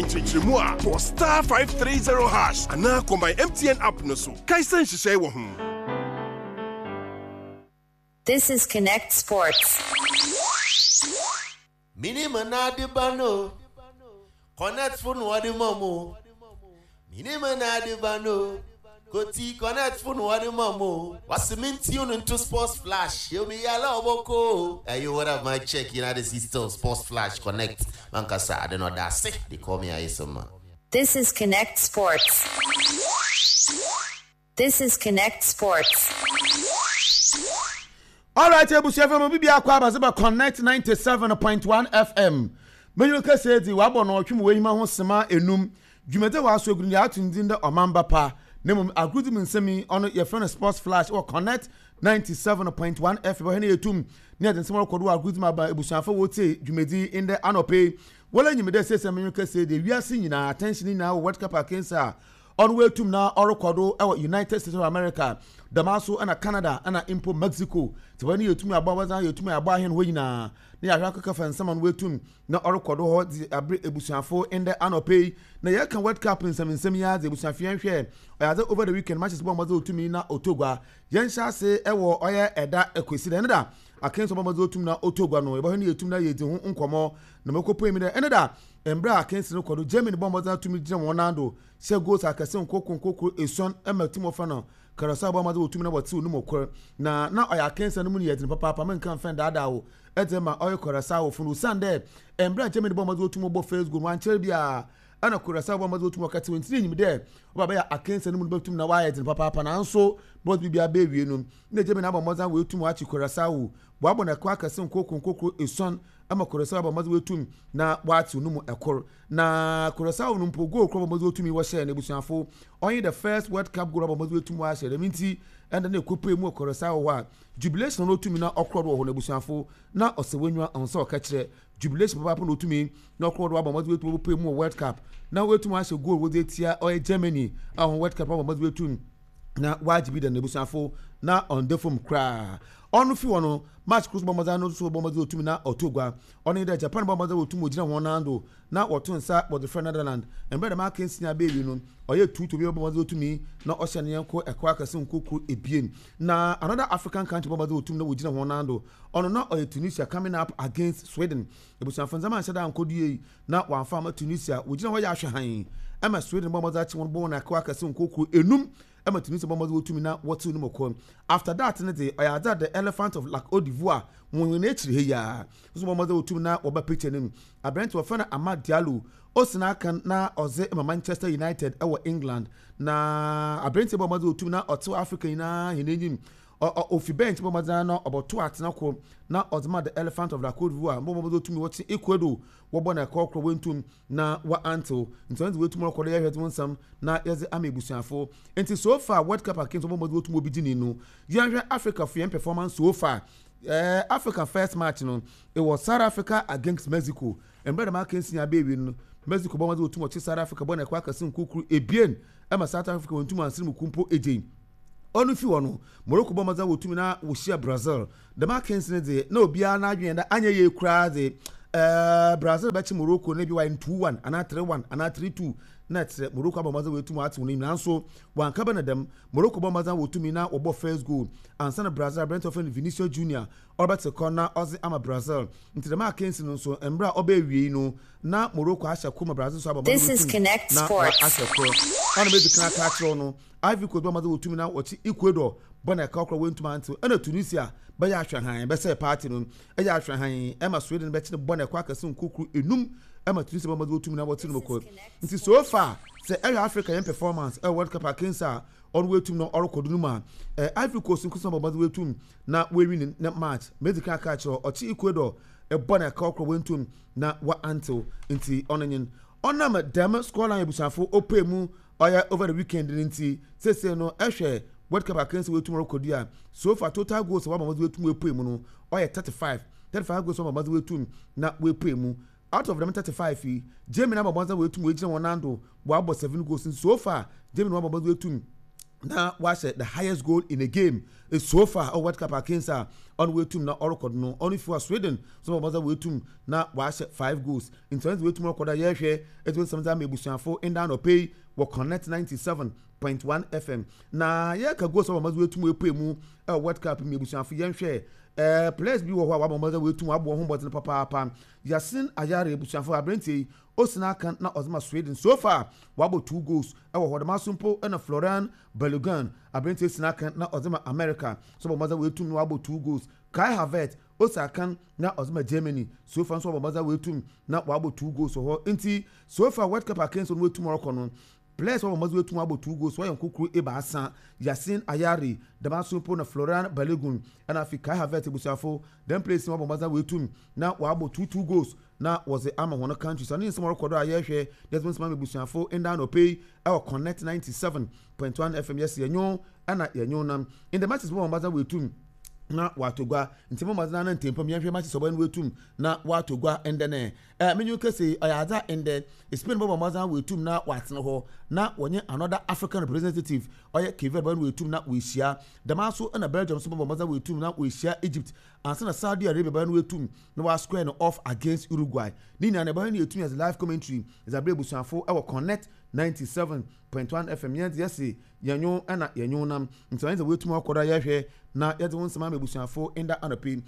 Nkyerɛkyerɛmu a, bɔ *530# anaa kɔ My MTN app no so. Kae sɛ nhyehyɛe wɔ ho. This is Connect Sports. Minim na ade ba no Connect fo na wɔde ma mo Minim na ade ba no Koti Connect fo na wɔde ma mo Wasi me tune into Sports Flash Yo mi yala oboko Hey yo, what up, my check? You know this is still Sports Flash Connect. Mankasa, I don't know that sick. They call me Ayesoma. This is Connect Sports. This is Connect Sports. Alright, ebusua fam obi biako aba sɛ ba Connect 97.1 FM. Menyo kɛse dzi wabɔ no ɔtwe mu w'enyima ho sema enum. Dwumadzi a wɔaso egu no yɛ ato ne dzin dɛ Ɔmamba Pa. Na mmom agorudzi mu nsɛm yi ɔno yɛfrɛ no Sports Flash wɔ Connect 97.1 FM. Ɔhɛn yɛtum ne yɛdze nsɛm ɔrokɔ do wɔ agorudzi mu aba ebusuafo a wotsie dwumadzi yi ndɛ anɔpa yi. Wola nyim dɛ sesei menyo kɛse dze wiase nyina attention nyina wɔ World Cup akansi a Ɔno oetum na ɔrokɔ do wɔ United States of America, dɛmara so na Canada na mpo Mexico. Ntsi hɔ no yetum abɔ abɔdzen, yetum abɔ ahɛn hɔ nyina na yɛahwɛ akɛka fa nsɛm a ɔno oetum na ɔrokɔ do hɔ dze aber ebusuafo ndɛ anɔpa yi. Na yɛreka World Cup nsɛmnsɛm yi ara dze, ebusuafo yɛnhwɛ, ɔyɛ adze over the weekend matches bɔ mbɔdzen otumii na ɔtɔ gua. Yɛnhyɛ ase wɔ ɔyɛ ɛda Kwesida, ɛno da akansi ɔbɔ mbɔdzen otum na ɔtɔ gua no, yɛbɔhwɛ na yetum na yeedzi ho nkɔmbɔ na mokopue mu dɛ ɛno da mbrɛ akansi no kɔ do, Germany bɔ mbɔdzen atum gyina hɔn nan do hyɛ goals akɛse nkorkor nkorkor esuon ma team wɔfrɛ no Curaçao bɔ mbɔdzen wɔ tum na wɔtseew no mu kor, na na ɔyɛ akansi no mu no yɛ dzen papaapa, mennka mmfa nndaadaa wo dze ma ɔyɛ Curaçaofo no osiandɛ mbrɛ a Germany bɔ mbɔdzen wɔ tum bɔ first goal no wɔannkyɛr biara na Curaçao bɔ mbɔdzen wɔ tum wɔkɛtsew ntsi na inyim dɛ ɔba bɛyɛ akansi no mu no bɛtum na wɔayɛ dzen papaapa naaso bɔdze biribiara beewie no nna Germany abɔ mbɔdzen woetum wɔakye Curaçao wɔabɔ no ɛkɔ akɛse nkorkor nkorkor esuon ma Curaçao abɔ mbɔdzen woetum na wɔatsew no mu kor. Na Curaçao no mpo goal kor a wɔbɔ mbɔdzen wotumi wɔhyɛɛ no ebusuafo, ɔnye the first World Cup goal a wɔbɔ mbɔdzen woetum wɔahyɛ. Dɛm ntsi ndɛ na ekopue mu wɔ Curaçao hɔ a, jubilation na otumi na ɔkrɔ do wɔ hɔ no ebusuafo, na ɔsɛ w'enyiwa ɔnnsɛ ɔkɛkyerɛ. Jubilation papaapa na otumi na ɔkrɔ do abɔ mbɔdzen woetum wɔpue mu wɔ World Cup na woetum ahyɛ goal wɔdze etsia ɔyɛ Germany a hɔn World Cup wɔabɔ mbɔdzen woetum na wɔagye bi da no ebusuafo na ɔnnda famu koraa. Ɔno fi hɔ no, match kor so bɔ mbɔdzen no so bɔ mbɔdzen otumi na ɔtɔ gua. Ɔno nye dɛ Japan bɔɔ mbɔdzen wɔ tum wogyina hɔn nan do na wɔto nsa wɔdze frɛ Netherland. Mbrɛ dɛm akansi yi abewie no, ɔyɛɛ tuutu obiara bɔɔ mbɔdzen otumii na ɔhyɛɛ ne nyɛnko ɛkaw akɛse nkorkor ebien. Na another African country bɔɔ mbɔdzen wɔ tum na wogyina hɔn nan do, ɔno na ɔyɛ Tunisia coming up against Sweden. Ebusuafo ndzɛmba annhyɛ da annkɔ do yie na wɔammfa amma Tunisia, wogyina hɔ yɛ ahwɛ hann ma Sweden bɔɔ mbɔdzen akye hɔn bɔɔ hɔn ɛkaw akɛse nkorkor enum ma Tunisia bɔ mbɔdzen wɔ tum na wɔtsew no mu kor. After that no dze, ɔyɛ adze a the elephant of Lac Cote d'Ivoire hɔn hɔn ekyir ha yi ara so bɔ mbɔdzen wɔ tum na wɔba picture no mu. Aberantsɛ wɔfrɛ no Amad Diallo, osi n'akan na ɔdze ma Manchester United wɔ England. Na aberantsɛ yi bɔ mbɔdzen wɔ tum na ɔtsew Africa nyina hɛn enyim. Ɔ ɔ ofi bench bɔ mbɔdzen ara na ɔbɔtow atsena kor na ɔdze ma the elephant of La Cote d'Ivoire bɔ mbɔdzen wɔ tum na wɔkye Ecuador wɔbɔ no ɛkɔɔ korɔ woenntum na wɔanntsew ntsi ɔno dze woetum rokɔ do yɛhwɛ dze wo nsɛm na yɛdze ama ebusuafo. Ntsi so far World Cup akansi wɔbɔ mbɔdzen wotum obi dzi no, yɛnhwɛ Africa fo hɛn performance so far. Eh, Africa first match no, it was South Africa against Mexico. Mbrɛ dɛm akansi yi aba ewie no, Mexico bɔ mbɔdzen wotum wɔkye South Africa bɔ no ɛkɔ akɛse nkorkor ebien ma South Africa wonntum annsen mu kor mpo egyei. Ɔno fi hɔ no, Morocco bɔ mbɔdzen wotum na wohyia Brazil. Dɛm akansi no dze, nna obiara n'adwen yɛ dɛ annyɛ yie koraa dze, eh, Brazil bɛkye Morocco na bi wɔayɛ no 2-1 anaa 3-1 anaa 3-2 na kyerɛ Morocco abɔ mbɔdzen woetum atsew n'enyim naaso wɔannkɛba no dɛm. Morocco bɔɔ mbɔdzen wotumi na wɔbɔɔ first goal ansa na Brazil aberantsɛ a wɔfrɛ no Vinicius Junior ɔrebɛtse kɔ na ɔdze ama Brazil. Ntsi dɛm akansi no so mber a ɔbaa ewiei no na Morocco ahyɛ kor ma Brazil so abɔ mbɔdzen This is woetum Connect na Sports. wɔahyɛ kor. Ɔno medzi kan aka akyerɛ wo no, Ivory Coast bɔɔ mbɔdzen wotum na wɔkye Ecuador bɔ na ɛkaw koraa woenntum anntsew. Nna Tunisia bɛyɛ ahwɛhann bɛsɛɛ party no, ɛyɛ ahwɛhann ma Sweden bɛkye no bɔ na ɛkɔ akɛse nkorkor enum ma Tunisia bɔ mbɔdzen wotum na wɔtse no mu kor. Ntsi so far sɛ ɛhwɛ Africa hɛn performance ɛwɔ World Cup akansi a ɔno woetum na ɔrokɔ do no mu a, eh, Ivory Coast nkotsee bɔ mbɔdzen woetum na woewin ne match. Medzi kan aka akyerɛ wo, ɔkye Ecuador bɔ na ɛkaw koraa woenntum na wɔanntsew. Ntsi ɔno nye no. Ɔnam dɛm scoreline ebusuafo opue mu ɔyɛ over the weekend no ntsi, sesei no ehwɛ World Cup akansi a woetum rokɔ do a, so far total goals a wɔama wɔdze woetum woepue mu no ɔyɛ 35. 35 goals a wɔama wɔdze woetum na woepue mu. Out of dɛm 35 yi, Germany abɔ mbɔdzen a woetum woegyina hɔn nan do wɔabɔ 7 goals ntsi so far Germany wɔabɔ mbɔdzen woetum. Na wahyɛ the highest goal in a game so far ɔ World Cup akansi a ɔno wetum na ɔrekɔ no. Ɔno fi wa Sweden so bɔ mɔdzen wetum na wahyɛ five goals, nti ɔno wetum ɔrekɔ do a yɛhwɛ ɛti nsɛm dze ama ebusuafo nda anɔpɛ yi wɔ Connect 97.1 FM. Na yɛka goals a wɔn mɔdzen wetum epue mu ɛwɔ World Cup mu, ebusuafo, yɛnhwɛ players bi wɔ hɔ a wabɔ mɔdzen wetum aboɔ ho mbɔdzen papaapa. Yasin Ayari, ebusuafo, aberanteɛ yi osina aka na ɔdze ma Sweden, so far wabɔ two goals ɛwɔ hɔ. Dɛm aso mpo ɛna Florian Balogun, aberanteɛ sina aka na ɔdze ma America, so bɔ mɔdzen wetum na wabɔ two goals. Kai Havertz osi akan na ɔdze ma Germany, so far nso wabɔ mɔdzen wetum na wabɔ two goals wɔ hɔ. Nti so far World Cup akansi no wetum ɔrekɔ no, players wɔbɔ mɔdzen wetum abɔ two goals wɔyɛ nkokoro 3: Yasin Ayari, dɛm aso mpo na Florian Balogun, ɛna afei Kai Havertz. Ebusuafo, dɛm players wɔbɔ mɔdzen wetum na wabɔ two two goals na wɔdze ama wɔn country. So ne nsɛm ɔrekɔ do a yɛrehwɛ yɛdze nsɛm ama ebusuafo nda anɔpɛ yi ɛwɔ Connect 97.1 FM. Yɛsi yɛnyo ɛna yɛnyo nam in the matches wɔn mɔdzen wetum na wato gua, nti mo mɔdzen ana ntɛmpɔm yɛnhwɛ matches ɔbɛn wetum na wato gua ndɛ nɛ menyo kese ɔyɛ adza ndɛ Spain bɔbɔ mɔdzen wetum na watena hɔ na wɔnye another African representative, ɔyɛ Cape Verde, bɔbɔ wetum na wɔahyia. Dɛm aso ɛna Belgium nso bɔbɔ mɔdzen wetum na wɔahyia Egypt ansa na Saudi Arabia bɔbɔ wetum na wa square no off against Uruguay. Ne nyinaa na ɛbɛyɛ no yɛtumi as live commentary ɛdze abere abusuafo ɛwɔ Connect 97.1 FM. Yɛn yɛse yɛnyo ɛna yɛnyo nam, nti ɔyɛ sɛ wɔatumi akɔ do a yɛhwɛ na yɛdze wo nsɛm ama abusuafo nda anɔpɛ yi.